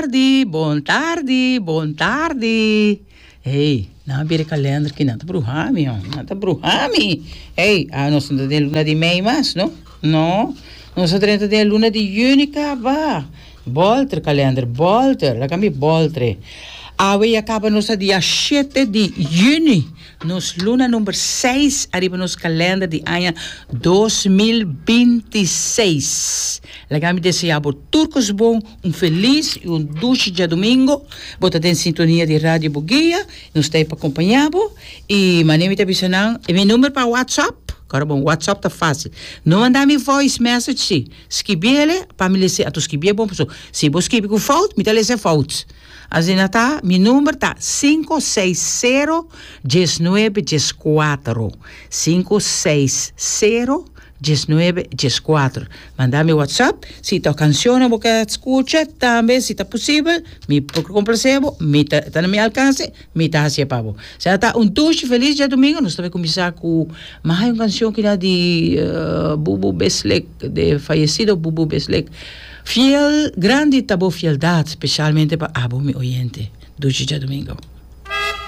Tardi, bon tardi, bon tardi. Hey, nan a bira e kalender ki nan ta bruha mi, hon. Nan ta bruha mi. Hey, a nos no ta den luna di mei mas, no? No, nos a drenta den luna di juni kaba. Bolter kalender, bolter, laga mi boltre. Awe ya kaba nos ta dia shete di juni. Nos luna number seis ariba nos kalender di aña 2026. Laga mi desea bo tur kos bon, un felis i un dushi djadumingo. Bo ta den sintonia di Radio Boguia, nos ta ei pa kompañá bo. I manera mi ta bisa nan, e mi number pa WhatsApp, kòrda bon, WhatsApp ta fásil. No manda mi voice message sí, skibiele pa mi lese, anto skibié bon pasobra si bo skibi ku fout, mi ta lese fout. Asina ta, mi number ta sinku seis sero diesnuebe dieskuatro, sinku seis sero diesnuebe dieskuatro. Manda mi WhatsApp si ta kanshonnan bo ke skucha, tambe si ta posibel mi por komplase bo, mi ta ta na mi alkanse, mi ta hasié pa bo. Asina ta, un dushi felis djadumingu, nos ta bai kuminsá ku mas un kanshon kina di Bubu Beslek, de fayesido Bubu Beslek. Fiel, grandi ta bo fieldad, specialmente pa abo mi oyente. Dushi djadomingo.